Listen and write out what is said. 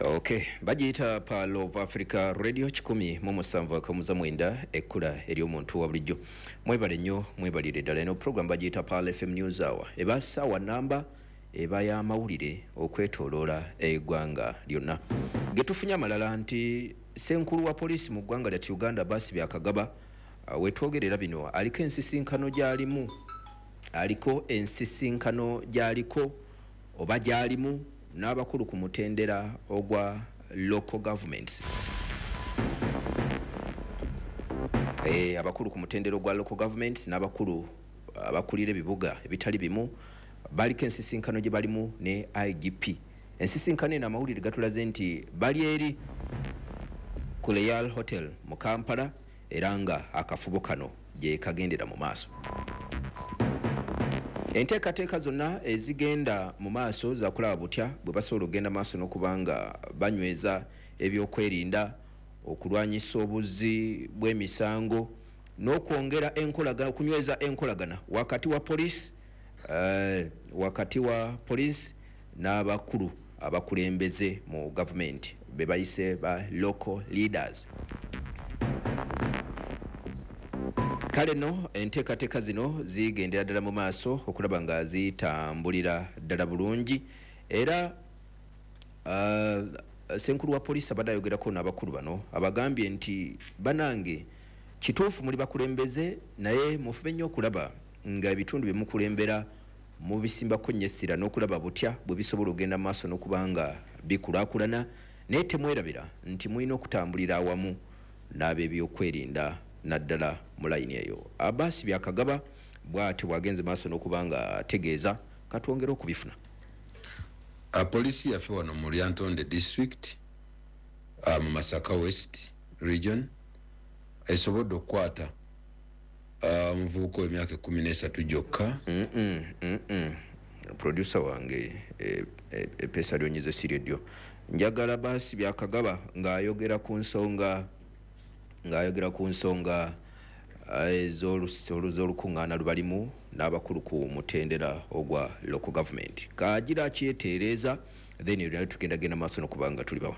Okay, bagiyita Pearl of Africa Radio 107.9, ekkula ery'omuntu wa bulijjo. Mwebale nnyo, mwebalire ddala. Eno program bagiyita Pearl FM News Hour, eba ssaawa namba, eba y'amawulire okwetooloola eggwanga lyonna. Getufunye amalala nti ssenkulu wa poliisi mu ggwanga lyattu Uganda, Abbas Byakagaba, wetwogerera bino aliko ensisinkano gy'alimu, aliko ensisinkano gy'aliko oba gy'alimu n'abakulu ku mutendera ogwa local governments. Abakulu ku mutendera ogwa local governments n'abakulu abakulira ebibuga ebitali bimu baliko ensisinkano gye balimu ne IGP. Ensisinkano eno amawulire gatulaze nti bali eri ku Royal Hotel mu Kampala, era nga akafubo kano gye kagendera mu maaso. Enteekateeka zonna ezigenda mu maaso zakulaba butya bwe basobola okugenda maaso n'okuba nga banyweza ebyokwerinda, okulwanyisa obuzzi bw'emisango n'okwongera enkolagana, okunyweza enkolagana wakati wa poliisi, wakati wa poliisi n'abakulu abakulembeze mu gavumenti be bayise ba local leaders. Kale nno enteekateeka zino zigendera ddala mu maaso okulaba nga zitambulira ddala bulungi, era ssenkulu wa poliisi abadde ayogerako n'abakulu bano, abagambye nti banange, kituufu muli bakulembeze, naye mufube nnyo okulaba nga ebitundu bye mukulembera mubisimbako nnyo essira n'okulaba butya bwe bisobola okugenda mu maaso n'okuba nga bikulaakulana, naye temwerabira nti mulina okutambulira awamu n'ab'ebyokwerinda, naddala mu layini eyo. Abbas Byakagaba bw'atyo bw'agenze maaso n'okuba nga ategeeza. Katwongere okubifuna. Poliisi yaffe wano mu Lyantonde District, mu Masaka West Region, esobodde okukwata omuvubuka w'emyaka 13 gyokka. Producer wange, epeesa lyonyize si lyedyo. Njagala Abbas Byakagaba ng'ayogera ku nsonga, ng'ayogera ku nsonga ez'olukuŋŋaana lubalimu n'abakulu ku mutendera ogwa local government. Kagira akyetereeza, then naye tugenda genda maaso n'okuba nga tuli bawa.